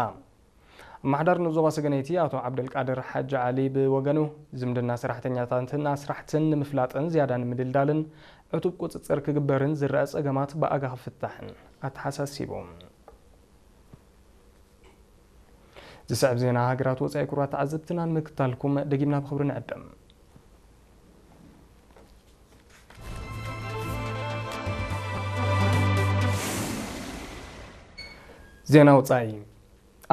ኣመሓዳሪ ንዞባ ሰገነይቲ ኣቶ ዓብደልቃድር ሓጂ ዓሊ ብወገኑ፣ ዝምድና ሰራሕተኛታትን ኣስራሕትን ንምፍላጥን ዝያዳ ንምድልዳልን ዕቱብ ቁጽጽር ክግበርን ዝረኣ ጸገማት ብኣጋ ክፍታሕን ኣተሓሳሲቡ። ዝስዕብ ዜና ሃገራት ወጻኢ ክቡራት ተዓዘብትና ንምክታልኩም ደጊምና ብኽብሪ ንዕድም። ዜና ወጻኢ።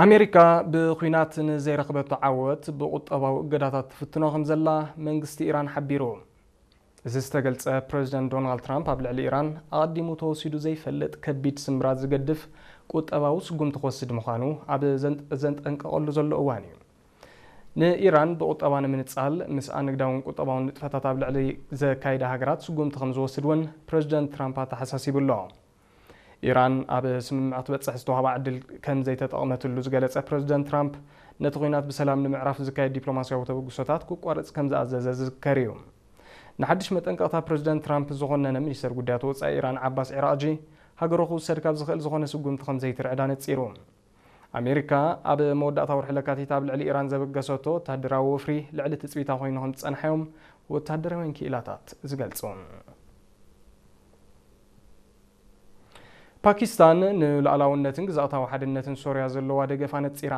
ኣሜሪካ ብኲናት ንዘይረኽበቶ ዓወት ብቁጠባዊ እገዳታት ትፍትኖ ከም ዘላ መንግስቲ ኢራን ሓቢሩ። እዚ ዝተገልጸ ፕረዚደንት ዶናልድ ትራምፕ ኣብ ልዕሊ ኢራን ኣቐዲሙ ተወሲዱ ዘይፈልጥ ከቢድ ስምብራት ዝገድፍ ቁጠባዊ ስጉምቲ ክወስድ ምዃኑ ኣብ ዘን-፣ ዘንጠንቀቐሉ ዘሎ እዋን እዩ። ንኢራን ብቁጠባ ንምንጻል ምስኣ ንግዳውን ቁጠባውን ንጥፈታት ኣብ ልዕሊ ዘካይዳ ሃገራት ስጉምቲ ከም ዝወስድ እውን ፕረዚደንት ትራምፕ ኣተሓሳሲቡ ኣሎ። ኢራን ኣብ ስምምዕ ክትበጽሕ ዝተዋህባ ዕድል ከም ዘይተጠቕመትሉ ዝገለጸ ፕረዚደንት ትራምፕ፣ ነቲ ኲናት ብሰላም ንምዕራፍ ዝካየድ ዲፕሎማስያዊ ተበግሶታት ክቋረጽ ከም ዝኣዘዘ ዝዝከር እዩ። ንሓድሽ መጠንቀቕታ ፕረዚደንት ትራምፕ ዝኾነነ ሚኒስተር ጉዳያት ወጻኢ ኢራን ዓባስ ዒራቕጂ፣ ሃገሩ ክውሰድ ካብ ዝኽእል ዝኾነ ስጉምቲ ከም ዘይትርዕድ ኣነጺሩ። ኣሜሪካ ኣብ መወዳእታ ወርሒ ለካቲት ኣብ ልዕሊ ኢራን ዘበገሰቶ ወታደራዊ ወፍሪ ልዕሊ ትጽቢታ ኮይኑ ከም ዝጸንሐ እዮም ወታደራውያን ክኢላታት ዝገልጹ። ፓኪስታን ንሉዓላውነትን ግዝኣታዊ ሓድነትን ሶርያ ዘለዋ ደገፍ ኣነጺራ።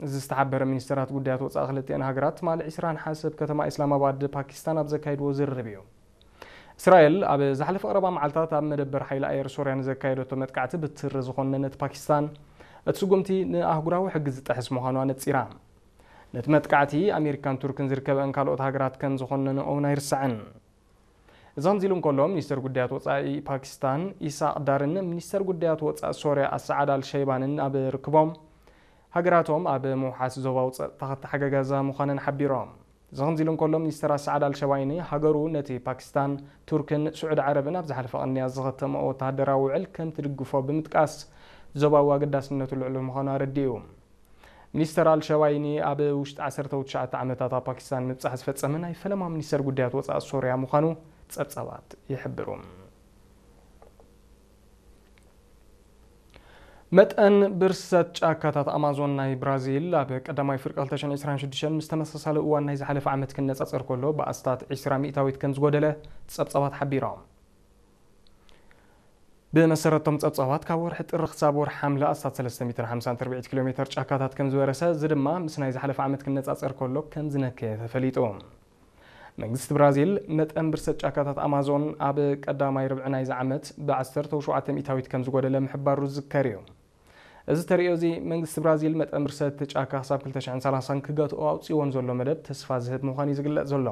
እዚ ዝተሓበረ ሚኒስተራት ጉዳያት ወጻኢ ክልቲኣን ሃገራት ትማሊ ዕስራ ነሓሰ ኣብ ከተማ ኢስላማባድ ፓኪስታን ኣብ ዘካየድዎ ዝርርብ እዩ። እስራኤል ኣብ ዝሓለፈ ቀረባ መዓልታት ኣብ መደበር ሓይሊ ኣየር ሶርያ ንዘካየደቶ መጥቃዕቲ ብትሪ ዝኾነነት ፓኪስታን፣ እቲ ስጉምቲ ንኣህጉራዊ ሕጊ ዝጥሕስ ምዃኑ ኣነጺራ። ነቲ መጥቃዕቲ ኣሜሪካን ቱርክን ዝርከበአን ካልኦት ሃገራት ከም ዝኾነንኦ እውን ኣይርሳዕን። እዚ ከምዚ ኢሉ እንከሎ፣ ሚኒስተር ጉዳያት ወጻኢ ፓኪስታን ኢሳቅ ዳርን ሚኒስተር ጉዳያት ወጻኢ ሶርያ ኣሳዓድ ኣልሸይባንን ኣብ ርክቦም፣ ሃገራቶም ኣብ ምውሓስ ዞባዊ ጸጥታ ክተሓጋገዛ ምዃነን ሓቢሮም። እዚ ከምዚ ኢሉ እንከሎ፣ ሚኒስተር ኣሳዓድ ኣልሸባይኒ ሃገሩ ነቲ ፓኪስታን፣ ቱርክን ስዑዲ ዓረብን ኣብ ዝሓለፈ ቅንያት ዝኸተመኦ ወተሃደራዊ ውዕል ከም ትድግፎ ብምጥቃስ፣ ዞባዊ ኣገዳስነቱ ልዑል ምዃኑ ኣረዲኡ። ሚኒስተር ኣልሸባይኒ ኣብ ውሽጢ ዓሰርተ ትሽዓተ ዓመታት ኣብ ፓኪስታን ምብጻሕ ዝፈጸመ ናይ ፈለማ ሚኒስተር ጉዳያት ወጻኢ ሶርያ ምዃኑ ጸብጻባት ይሕብሩ። መጠን ብርሰት ጫካታት ኣማዞን ናይ ብራዚል ኣብ ቀዳማይ ፍርቂ ክልተ ሽሕን ዕስራን ሽዱሽተን ምስ ተመሳሳሊ እዋን ናይ ዝሓለፈ ዓመት ክነጻጸር ከሎ ብኣስታት ዕስራ ሚእታዊት ከም ዝጎደለ ጸብጻባት ሓቢሮም። ብመሰረቶም ጸብጻባት ካብ ወርሒ ጥሪ ክሳብ ወርሒ ሓምለ ኣስታት ሰለስተ ሚእትን ሓምሳን ትርብዒት ኪሎ ሜተር ጫካታት ከም ዝበረሰ፣ እዚ ድማ ምስ ናይ ዝሓለፈ ዓመት ክነጻጸር ከሎ ከም ዝነከየ ተፈሊጡ። መንግስቲ ብራዚል መጠን ብርሰት ጫካታት ኣማዞን ኣብ ቀዳማይ ርብዒ ናይዚ ዓመት ብ ዓሰርተ ሸውዓተ ሚእታዊት ከም ዝጎደለ ምሕባሩ ዝዝከር እዩ። እዚ ተርእዮ እዚ መንግስቲ ብራዚል መጠን ብርሰት ጫካ ክሳብ ክልተ ሽሕን ሰላሳን ክገትኦ ኣውጺእዎ ንዘሎ መደብ ተስፋ ዝህብ ምዃኑ እዩ ዝግለጽ ዘሎ።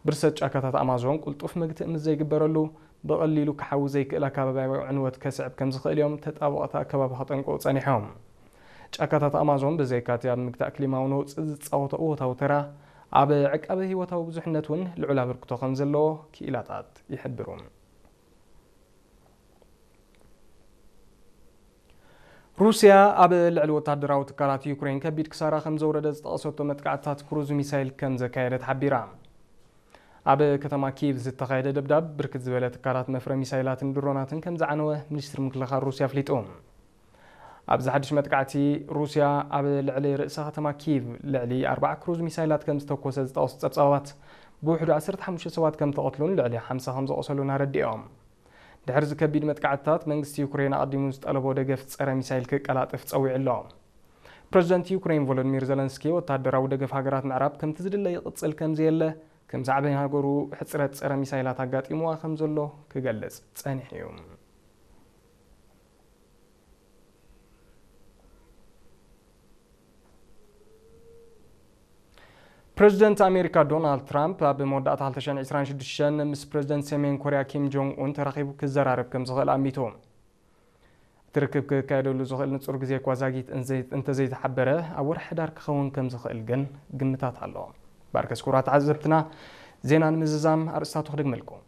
ብርሰት ጫካታት ኣማዞን ቅልጡፍ መግትኢ ምስ ዘይግበረሉ ብቐሊሉ ክሓዊ ዘይክእል ኣከባብያዊ ዕንወት ከስዕብ ከም ዝኽእል እዮም ተጣበቕቲ ኣከባቢ ከጠንቅቑ ጸኒሖም። ጫካታት ኣማዞን ብዘይካ'ቲ ኣብ ምግታእ ክሊማዊ ነውጺ ዝጻወቶ እወታዊ ተራ፣ ኣብ ዕቃበ ህይወታዊ ብዙሕነት እውን ልዑል ኣበርክቶ ከም ዘለዎ ክኢላታት ይሕብሩ። ሩስያ ኣብ ልዕሊ ወታደራዊ ትካላት ዩክሬን ከቢድ ክሳራ ከም ዘውረደ ዝጠቐሰቶ መጥቃዕትታት ክሩዝ ሚሳይል ከም ዘካየደት ሓቢራ። ኣብ ከተማ ኪቭ ዝተኻየደ ደብዳብ ብርክት ዝበለ ትካላት መፍረ ሚሳይላትን ድሮናትን ከም ዝዓነወ ሚኒስትሪ ምክልኻል ሩስያ ኣፍሊጡ። ኣብዚ ሓድሽ መጥቃዕቲ ሩስያ ኣብ ልዕሊ ርእሰ ከተማ ኪቭ ልዕሊ ኣርባዓ ክሩዝ ሚሳይላት ከም ዝተኮሰ ዝጠቐሱ ጸብጻባት፣ ብውሕዱ ዓሰርተ ሓሙሽተ ሰባት ከም ተቐትሉን ልዕሊ ሓምሳ ከም ዘቑሰሉን ኣረዲኦም። ድሕሪ እዚ ከቢድ መጥቃዕትታት፣ መንግስቲ ዩክሬን ኣቐዲሙ ዝጠለቦ ደገፍ ጸረ ሚሳይል ክቀላጠፍ ጸዊዑ ኣሎ። ፕረዚደንት ዩክሬን ቮሎዲሚር ዘለንስኪ፣ ወታደራዊ ደገፍ ሃገራት ምዕራብ ከምቲ ዝድለ ይቕጽል ከም ዘየለ፣ ከም ሳዕቤን ሃገሩ ሕጽረት ጸረ ሚሳይላት ኣጋጢምዋ ከም ዘሎ ክገልጽ ጸኒሑ እዩ። ፕረዚደንት ኣሜሪካ ዶናልድ ትራምፕ ኣብ መወዳእታ ክልተ ሽሕን ዕስራን ሽዱሽተን ምስ ፕረዚደንት ሰሜን ኮርያ ኪም ጆንግ ኡን ተራኺቡ ክዘራረብ ከም ዝኽእል ኣሚቱ። እቲ ርክብ ክካየደሉ ዝኽእል ንጹር ግዜ እኳ ዛጊት እንዘይ-፣ እንተዘይተሓበረ፣ ኣብ ወርሒ ሕዳር ክኸውን ከም ዝኽእል ግን ግምታት ኣሎ። ባርከስ ክቡራት ተዓዘብትና፣ ዜና ንምዝዛም ኣርእስታቱ ክደግመልኩም።